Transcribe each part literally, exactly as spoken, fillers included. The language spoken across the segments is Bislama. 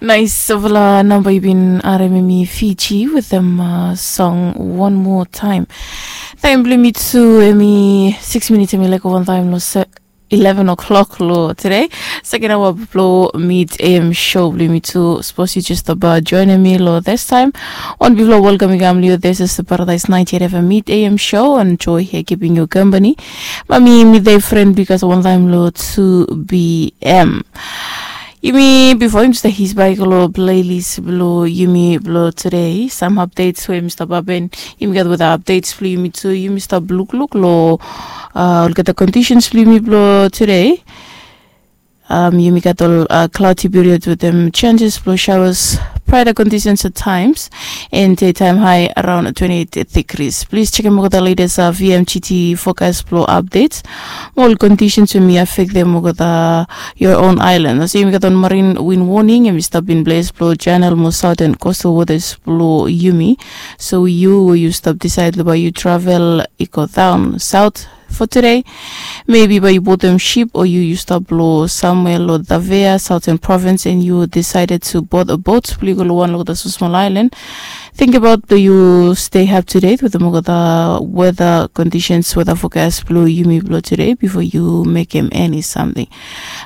Nais, ol namba i bin harim em i Fiji wetem song One More Time. Taem blong yumi tu em i six minits, em i laik wantaem long eleven o'clock long tude, second hour blong Mid A M show blong yumi tu. Sapos yu jes stap joinim mi long this time, wan bigfala welcome i kam long yu. This is the Paradise ninety-eight F M Mid A M show and Joy here keeping you company. Mami, mi de friend because wantaem long two B M. Yumi bifo yumi stap his bai go long playlist blong yumi blong tude. Sam updates we yumi stap hapen, yumi gat weather updates blong yumi tu. Yumi stap lukluk long olgeta conditions blong yumi blong tude. Yumi gat ol cloudy period wetem chances blong showers, brighter conditions at times, and daytime high around twenty-eight degrees. Plis jekem olgeta latest V M G T forecast blong updates mo ol conditions we yumi affektem olgeta your own island. Olsem yumi gat ol marine wind warning, yumi stap in place blong channel mo southern coastal waters blong yumi. So yu we yu stap decide long bae yu travel i go daon south for tude, maybe bae yu bodim ship o yu yu stap long samwea long Tafea, Southern Province, and yu decided to board a boat blong yu go long wan long olgeta smosmol island. Think about do yu stay up to date wetem olgeta weather conditions, weather forecast blong yumi blong tude bifo yu mekem eni samting.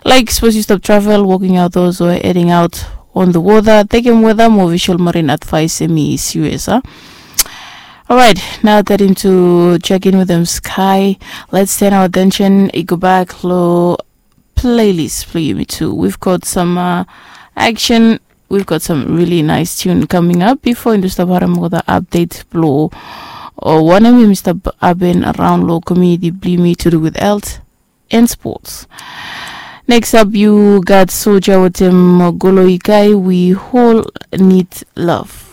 Laik sapos yu stap travel, working outdoors o heading out on the water, tekem weather mo visual marine advice, em i serious a. Alright, now that into check in wetem Sky, let's turn our attention i go back long playlist blong yumi tu. We've got some uh, action. We've got some really nice tune coming up bifo yumi stap harim olgeta update blong o wanem yumi stap hapen around long community blong yumi to do with health and sports. Next up, yu gat Soja wetem Golo Ikai, We All Need Love.